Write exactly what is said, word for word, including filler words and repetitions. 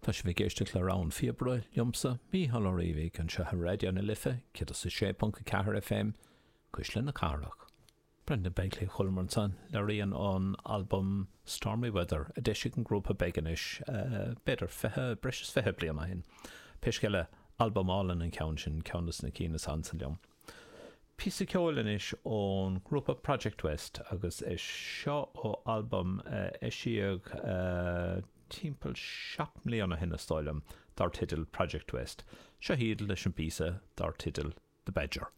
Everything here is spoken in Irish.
Tá sibh ag éisteacht le Rogha an Phíobaire liomsa, Mícheál Ó Riabhaigh, anseo ar Raidió na Life, céad is a sé ponc a ceathair F M, Cuisle na Cathrach. Brendan Begley chualamar ansan le rian ón albam Stormy Weather a d'eisigh an grúpa Begonish uh, b'fhéidir fiche, breis is fiche bliain ó shin. Pé scéal é, albam álainn an ceann sin, ceann de na cinn is ansa liom. Píosa ceoil anois ón grúpa Project West agus é seo ó albam uh, eisíodh uh, timpeall seacht mbliana ó shin, is dóigh liom, dar teideal Project West. Seo hiad leis an bpíosa dar teideal The Badger.